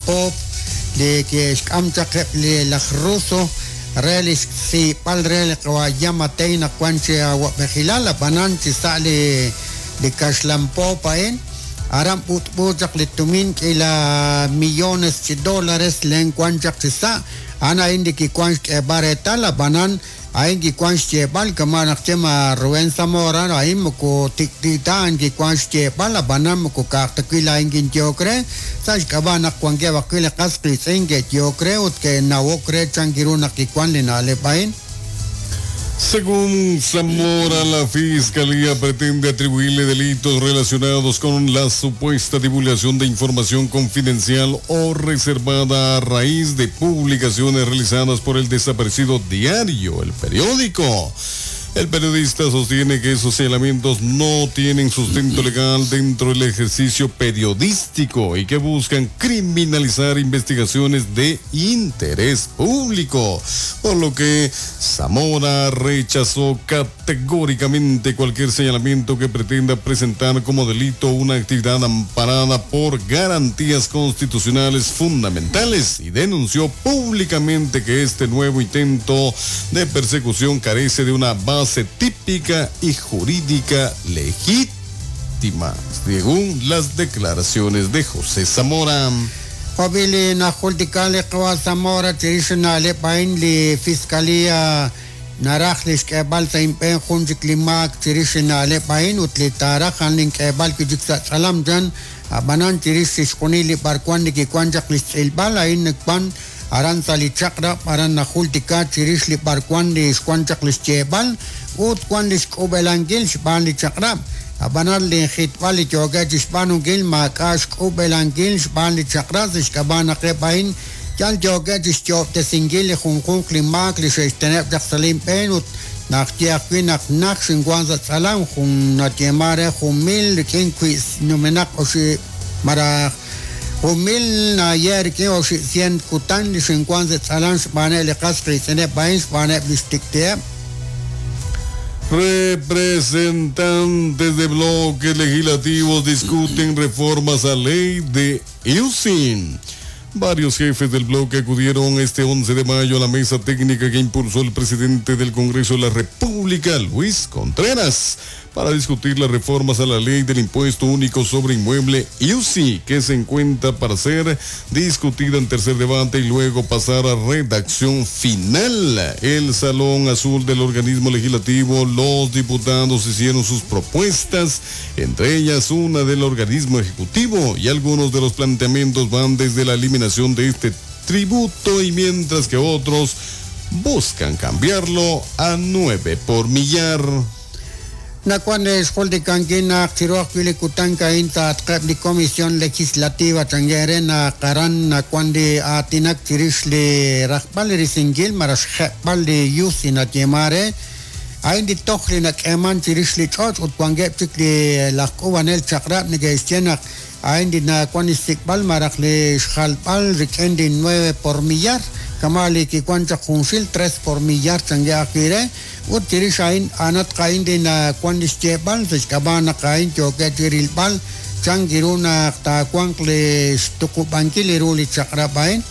poop li ke'xk'am chaq eb' li laj Ruso re li xsiib'al re li qawa' Giammattei naq wan chi awa'b'ejilal, ab'anan chi sa' li li kaxlan poop a'in aran b'ut'b'u chaq li tumin k'iila millones chi dólares len wan chaq chi sa', a'an a'in li kiwan xk'eeb'al reetal, ab'anan a'in kiwan xyeeb'al kama' naq xye ma Rubén Zamora, a'in moko tik'ti' ta, a'an kiwan xyeeb'al, ab'anan moko ka'aj ta wi' laa'in kinyehok re, sa' xk'ab'a' naq wankeb' ajwi' li qas qiitz'in ke'yehok re ut ke'nawok re chan ru naq kiwan li na'leb' a'in. Según Zamora, la Fiscalía pretende atribuirle delitos relacionados con la supuesta divulgación de información confidencial o reservada a raíz de publicaciones realizadas por el desaparecido diario El Periódico. El periodista sostiene que esos señalamientos no tienen sustento legal dentro del ejercicio periodístico y que buscan criminalizar investigaciones de interés público, por lo que Zamora rechazó categóricamente cualquier señalamiento que pretenda presentar como delito una actividad amparada por garantías constitucionales fundamentales y denunció públicamente que este nuevo intento de persecución carece de una base típica y jurídica legítima, según las declaraciones de José Zamora. Jo' li najultika li qawa' Zamora chirix na'leb' a'in li Fiscalía naraj li xk'eeb'al sa' inb'een jun chik li maak chirix na'leb' a'in ut li taaraj a'an link'eeb'al wi' chik sa' tz'alam chan, ab'anan chirix chixjunil li b'arwan li kiwan chaq li xtz'ilb'al a'in wan aran sa' li chaq'rab' aran najultika chirix li b'arwan li xwan chaq li xyeeb'al ut wan li xk'ub'elankil xb'aan li chaq'rab', ab'anan li jitb'al li yookeb' chi xb'aanunkil maak'a' xk'ub'elankil xb'aan li chaq'rab' sa' xk'ab'a' naq eb' a'in yal yookeb' chi xyoob'tesinkil li junjunq li maak li xe'xteneb' chaq sa' linb'een ut naq ye ajwi' naq naj xinwan sa' tz'alam jun nayeeman re 1000 rik'in wi' numenaq oxib' malaj 1000 naye rik'in 800 kutan li xinwan sa' tz'alam xb'aaneb' li qas qiitz'ineb' a'in xb'aaneb' li xtik'ti'eb'. Representantes de bloques legislativos discuten reformas a ley de USIN. Varios jefes del bloque acudieron este 11 de mayo a la mesa técnica que impulsó el presidente del Congreso de la República, Luis Contreras, para discutir las reformas a la ley del impuesto único sobre inmueble IUSI, que se encuentra para ser discutida en tercer debate y luego pasar a redacción final. El Salón Azul del organismo legislativo, los diputados hicieron sus propuestas, entre ellas una del organismo ejecutivo, y algunos de los planteamientos van desde la eliminación de este tributo y mientras que otros buscan cambiarlo a 9 por millar. Nakuan xjultikankil naq chiru ajwi' li kutan a'in taatqeb' li Comisión Legislativa changere naq aran nakuan li aatinak chirix li rajb'al li risinkil malaj xjeb'al li IUSI nayeeman re a'in li toj li nak'eeman chirix li ch'och' ut wankeb' chik li laj k'uub'anel chaq'rab' neke'xye naq a'in li nakuan li xsik'b'al malaj li xjalb'al rik'in li 9 por millar kama' li kiwan chaq junxil 3 por millar change ajwi' re ut chirix a'in a'anatq a'in li nakuan li xyeeb'al sa' xk'ab'a' naq a'in yookeb' chi rilb'al chan ru naq taawanq li xtuqub'ankil ru li chaq'rab' a'in.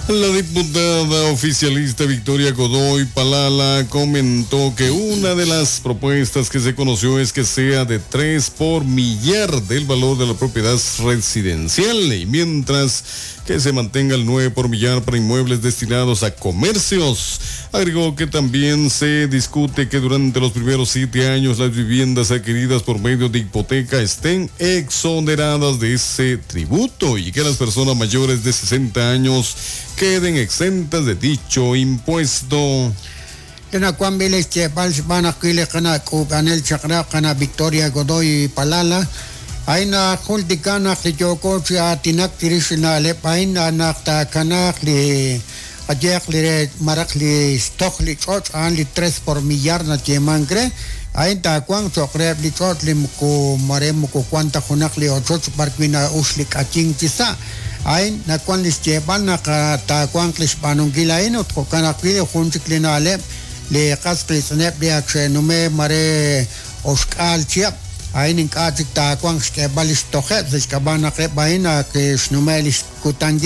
La diputada oficialista Victoria Godoy Palala comentó que una de las propuestas que se conoció es que sea de 3 por millar del valor de la propiedad residencial y mientras que se mantenga el 9 por millar para inmuebles destinados a comercios. Agregó que también se discute que durante los primeros 7 años las viviendas adquiridas por medio de hipoteca estén exoneradas de ese tributo y que las personas mayores de 60 años queden exentas de dicho impuesto. Nakuan b'il xyeeb'al xb'aan ajwi' li qana' k'uub'anel chaq'rab' qana' Victoria Godoy Palala a'in najultika naq li yooko chi aatinak chirix na'leb' a'in naq taakanaaq li qayehaq li re maraq li xtoj li ch'och' a'an li 3 por millar nayeemank re a'in taawanq cho'q reheb' li ch'och' li moko mare moko wan ta junaq li ochoch b'ar wi' na'ux li k'ayink chi sa' a'in nakuan li xyeeb'al naq taawanq li xb'aanunkil a'in ut jo'kan ajwi' jun chik li na'leb' li qas qiitz'ineb' li ak xe'nume mare oxk'aal chihab' a'in ink'a' chik taawanq xk'eeb'al li xtojeb' sa' xk'ab'a' naq eb' a'in ak xnume li xkutankil.